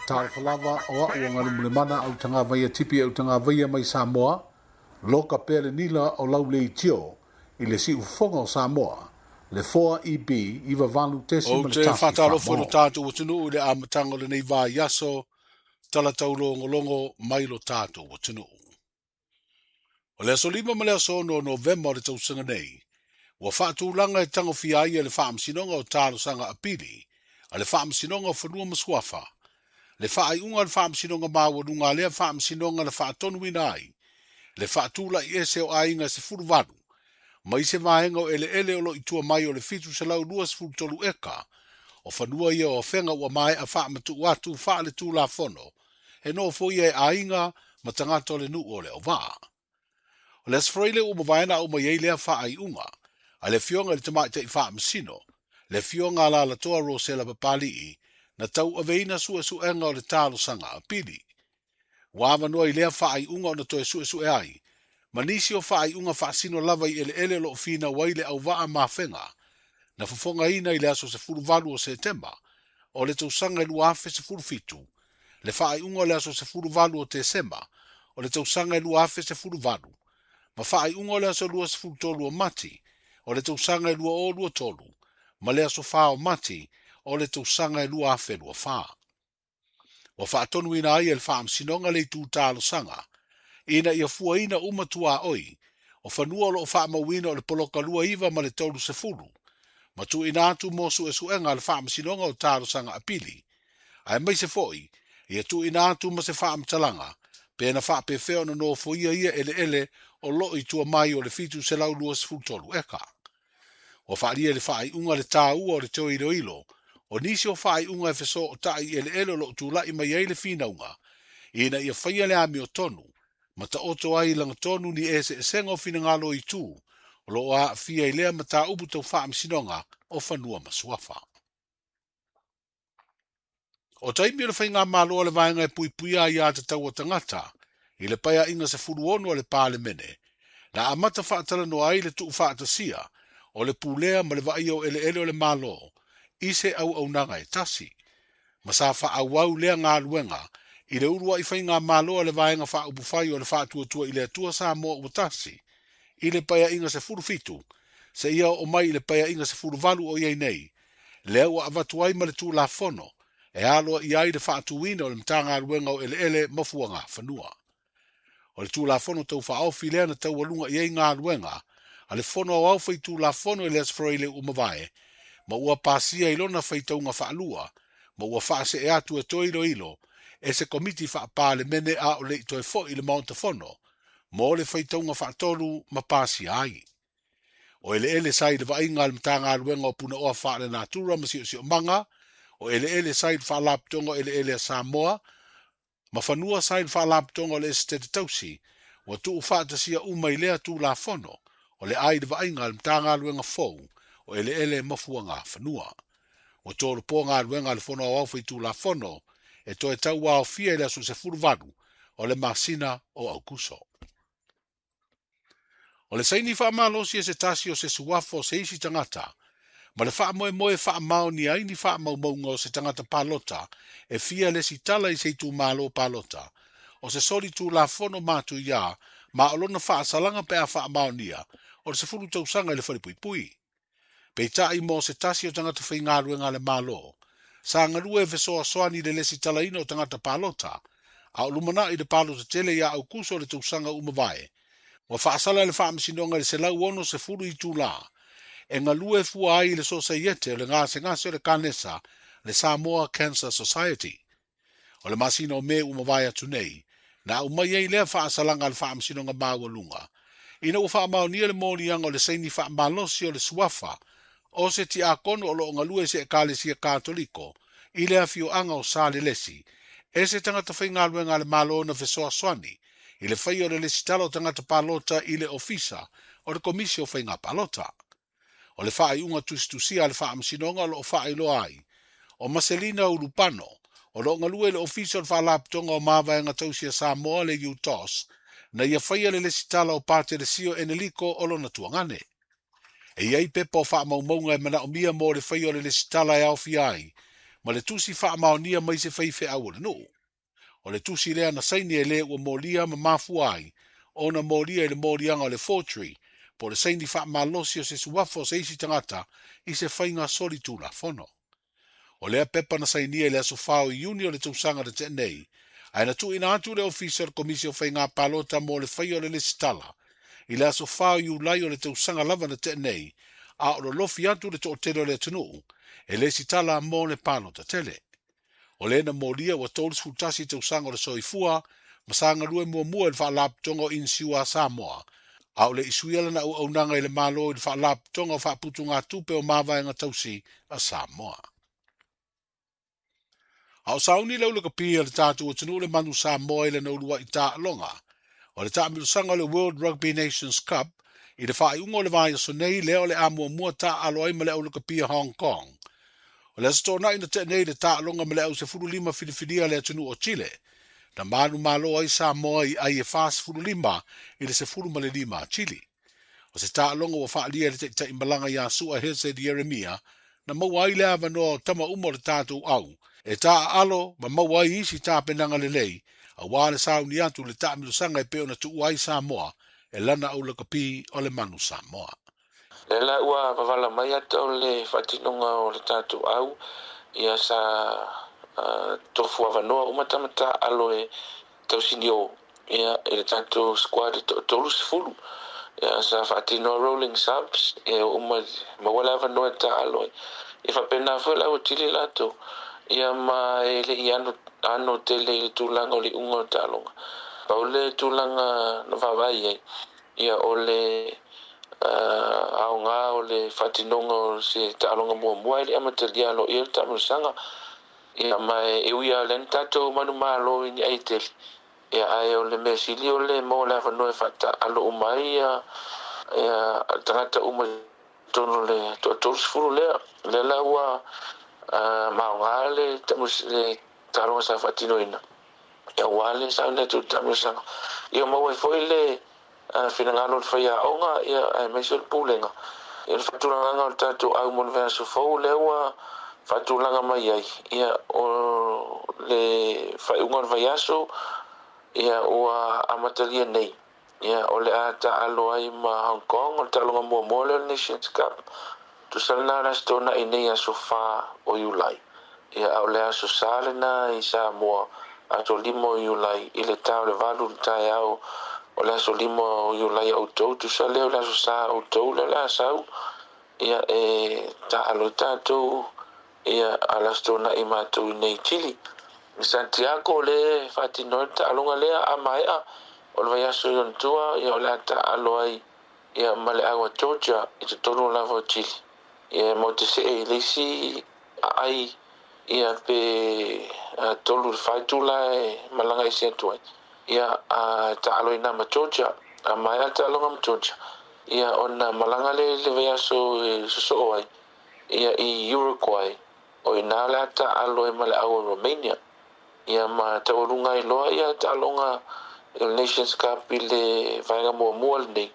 Talofa lava o a'u o Galumulemana Autagavaia Tipi Autagavaia mai Samoa, loka pea le nila o lau leitio i le siufofoga o Samoa, le 4EB 98 Ou ma le te 1 faatalofa i lo Faamao. Tatou atunuu i le amataga o lenei vaiaso talatau-logologo mai lo tatou atunuu. O le aso 5 ma le aso 6 o Novema o le tausaga nei, ua faatulaga e tagofia ai e le Faamasinoga o Talosaga Apili a le Faamasinoga o Fanua ma Suafa le faaiuga a le Faamasinoga Maualuga a lea Faamasinoga na faatonuina ai le faatulai ese o aiga e 18 mai se vaega o eleele o lo o i tua mai o le 723 eka o fanua ia o Afega ua maea faamatuu atu faaletulafono e nofoia e aiga ma tagata o le nuu o Leauvaa. O le Aso Faraile ua mavae na aumai ai lea faaiuga a le Afioga i le Tamaitai Faamasino, le Afioga a Alalatoa Rosela Papali'i, na tauaveina suesuega o le talosaga apili. Ua avanoa i lea faaiuga ona toe suesue ai ma nisi o faaiuga faasino lava i eleele o lo o finau ai le auvaa ma Afega, na fofogaina i le aso 18 o Setema o le tausaga e 2017, le faaiuga o le aso 18 o Tesema o le tausaga e 2018, ma faaiuga o le aso 23 o Mati o le tausaga e 2023, ma le aso 4 o Mati o le tausaga e 2024. Ua faatonuina ai e le Faamasinoga le itu talosaga ina ia fuaina uma tuaoi o fanua o lo o faamauina o le poloka 29 ma le 30, ma tuuina atu mo suesuega a le Faamasinoga o Talosaga Apili, aemaise foi ia tuuina atu ma se faamatalaga pe na faapefea ona nofoia ia eleele o lo o i tua mai o le 723 eka. Ua faaalia i le faaiuga le taua o le toe iloilo o nisi o faaiuga e fesootai i eleele o lo o tulai mai ai le finauga, ina ia faia le amiotonu ma taoto ai i lagatonu ni eseesega o finagalo i itu o lo o aafia i lea mataupu tau faamasinoga o fanua ma suafa. O taimi o le faigamalo a le vaega e puipuia aiā tatau a tagata i le paeaiga 16 a le Palemene, na amata faatalanoa ai le tuufaatasia o le pulea ma le vaaia o eleele o le Malo i se auaunaga e tasi, ma sa faaauau lea galuega i le uluai faigamalo a le vaega faaupufai o le Faatuatua i le Atua Samoa ua Tasi i le paeaiga 17 seia oo mai i le paeaiga 18 o i ai nei, lea ua avatu ai ma le Tulafono e aloaia ai le faatuina o le Matagaluega o Eleele ma Fuagafanua. O le Tulafono Tau Faaofi lea na taualuga i ai galuega a le Fono Aoao Faitulafono i le Aso Faraile ua mavae, ma ua pasia i lona faitauga faalua, ma ua faasee atu e toe iloilo e se Komiti Faa-Palemene a o le i toe foi i le Maota Fono mo le faitauga faatolu ma pasia ai. O eleele sa i le vaaiga a le Matagaluega o Punaoa Faalenatura ma Siosiomaga, o eleele sa i le Faalapotopotoga o Eleele a Samoa, ma fanua sa i le Faalapotopotoga o le Esetete Tausi, ua tuufaatasia uma i lea Tulafono o le a i le vaaiga a le Matagaluega fou o Eleele ma Fuagafanua. Ua tolopo galuega a le Fono Aoao Faitulafono e toe tauaofia i le aso 18 o le masina o Aukuso. O le saini faamalosi e se tasi o se suafa o se isi tagata, ma le faamoemoe e faamaonia ai ni faamaumauga o se tagata palota e fia lesitala i se itumalo palota, o se soli tulafono matuia ma o lona faasalaga pe a faamaonia o le 10 tausaga i le falepuipui. Peitai mo se tasi o tagata faigaluega a le Malo, sa galue e fesoasoani i le lesitalaina o tagata palota, a o lumanai le palota tele ia Aukuso o le tausaga ua mavae, ua faasala e le Faamasinoga i le 160 itulā e galue fua ai i le Sosaiete o le Gasegase o le Kanesa, le Samoa Cancer Society. O le masina o Me ua mavae atu nei, na aumai ai lea faasalaga a le Faamasinoga Maualuga, ina ua faamaonia le moliaga o le saini faamalosi o le suafa o se tiakono o lo o galue i se Ekalesia Katoliko i le afioaga o Salelesi, e se tagata faigaluega a le Malo na fesoasoani i le faia o le lesitala o tagata palota i le Ofisa o le Komisi o Faiga Palota. O le faaiuga tusitusia a le Faamasinoga o lo o faailoa ai, o Maselina Ulupano, o lo o galue i le Ofisa o le Faalapotopotoga o Mavaega Tausi a Samoa le UTOS, na ia faia le lesitala o Patelesio Eneliko o lona tuagane. E i ai pepa o faamaumauga e manaomia mo le faia o le lesitala e aofia ai, ma le tusi faamaonia mai se faifeau o le nuu. O le tusi lea na saini e le ua molia ma mafua ai ona molia i le moliaga o le forgery po o le saini faamalosi o se suafa o se isi tagata i se faiga solitulafono. O lea pepa na sainia i le aso 4 o Iuni o le tausaga na tea nei, ae na tuuina atu le Ofisa o le Komisi o Faiga Palota mo le faia o le lesitala i le aso 4 o Iulai o le tausaga lava na tea nei, a o lolofi atu le toatele o le atunuu e lesitala mo le palota tele. O le na molia ua 31 tausaga o le soifua ma sa galue muamua i le Faalapotopotoga o Inisiua a Samoa, a o le i suia lana auaunaga i le Malo i le Faalapotopotoga o Faaputugatupe o Mavaega Tausi a Samoa. A o sauni le aulakapi a le tatou atunuu le manu Samoa i lana uluai taaloga o le taamilosaga o le World Rugby Nations Cup i le faaiuga o le vaiaso nei lea o le a muamua taaalo ai ma le aulakapi a Hong Kong. O le aso Toonai na tea nei le taaloga ma le au 15 filifilia a le atunuu o Chile, na manumalo ai Samoa i ai e 45 i le 15 a Chile. O se taaloga ua faaalia e le taitai malaga ia Sua Hesed Ieremia, na maua ai le avanoa o tama uma o le tatou au e taaalo ma maua ai isi tapenaga lelei, auā le sauni atu i le taamilosaga e pei ona tuua ai Samoa e lana aulakapi o le manu Samoa. Lea la ua vavala mai ata o le faatinoga o le tatou au, ia sa tofu avanoa uma tama taaalo e tausinio ia i le tatou squad e toatolu sefulu. Ia sa faatinoa rolling subs, ia uma maua le avanoa e taaalo ai. Ia faapena foi le au tili latou. Ia ma e le i ano, ano tele i le tulaga o le iuga o le taaloga. Pau le tulaga na vaavaai ai, ia o le aoga o le faatinoga o se taaloga muamua e le amatalia aloaia le taamilosaga. Ia ma e ui lava o lea na tatou manumalo i ni ai tele. Ia ae o le mea sili o le maua le avanoa e faataalo uma ai ia, ia tagata uma i totonu o le toatolu sefulu lea. Lea la ua maoga le, le taaloga sa faatinoina. Ia aua le sauni atu i le taamilosaga. Ia maua ai foi le finagalo o le faiaoga, ia aemaise o le pulega. Ia le faatulagaga o le tatou au mo le vaiaso fou lea ua faatulaga mai ai. Ia o le faaiuga o le vaiaso, ia ua amatalia nei. Ia o le a taaalo ai ma Hong Kong, o le taaloga muamua lea o le Nations Cup. Tusa lena o le Aso Toonai nei aso 4 o Iulai. Ia a o le aso Sa lena i Samoa, aso 5 o Iulai i le ta o le 8 i le taeao o le aso 5 o Iulai a outou, tusa lea o le aso Sa a outou lea o le a sau. Ia e taaalo ai tatou ia a le Aso Toonai matou i nei i Chile. I Santiago le faatino ai le taaloga lea a maea o le vaiaso i ona tua, ia o le a taaalo ai ia ma le au a Georgia i totonu lava o Chile. Ia mo te see i le isi aai ia pe 3 i le 4 itula e malaga ese atu ai. Ia a taaalo ina ma Georgia, a maea le taaloga ma Georgia, ia ona malaga le i le vaiaso e sosoo ai ia i Uruguay, o ina le a taaalo ai ma le au a Romania. Ia ma taualuga ai loa ia taaloga o le Nations Cup i le vaega muamua lenei.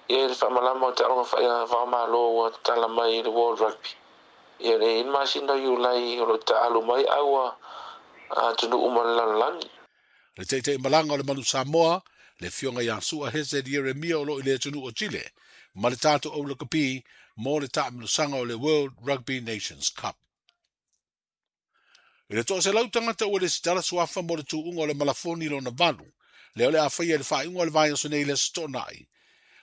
Ia le faamalama o taaloga faava-o-Malo ua tatala mai i le World Rugby. Ia le ina masina o Iulai o lo o taaalo mai au a atunuu uma o le lalolagi. Le taitai malaga o le manu Samoa, le afioga ia Sua Hesed Ieremia o lo o i le atunuu o Chile, ma le tatou aulakapi mo le taamilosaga o le World Rugby Nations Cup. I le 100 tagata ua lesitala suafa mo le tuuga o le malafoni lona valu, lea o le a faia i le faaiuga o le vaiaso nei i le Aso Toonai.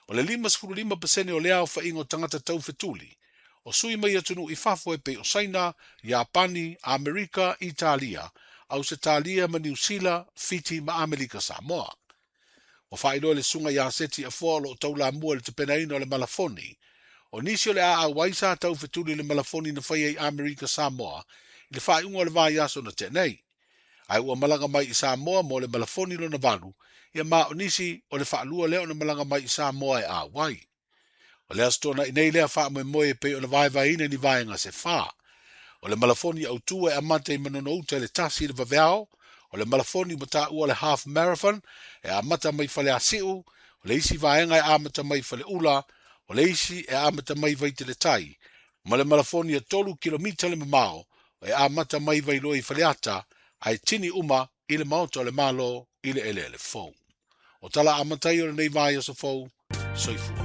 O le 55% o lea aofaiga o tagata taufetuli, o sui mai atunuu i fafo e pei o Saina, Iapani, Amerika, Italia, Ausetalia ma Niu Sila, Fiti ma Amerika Samoa. Ua faailoa e le Susuga ia Seti Afoa o lo o taulamua i le tapenaina o le malafoni. O nisi o le a auai sa taufetuli i le malafoni na faia i Amerika Samoa i le faaiuga o le vaiaso na tea nei. Ae ua malaga mai i Samoa mo le malafoni lona valu, ia ma o nisi o le faalua lea ona malaga mai i Samoa e auai. O le Aso Toonai nei lea faamoemoe e pei ona vaevaeina ni vaega se fa. O le malafoni autū e amata i Manono-uta i le 1 i le vaveao, o le malafoni ua taua le Half Marathon e amata mai Faleasiu, o le isi vaega e amata mai Faleula, o le isi e amata mai Vaiteletai, ma le malafoni e 3 kilomita le mamao e amata mai Vailoa i Faleata ae tini uma i le Maota o le Malo i le eleele fou. O tala amata ia o lenei vaiaso fou, soifua.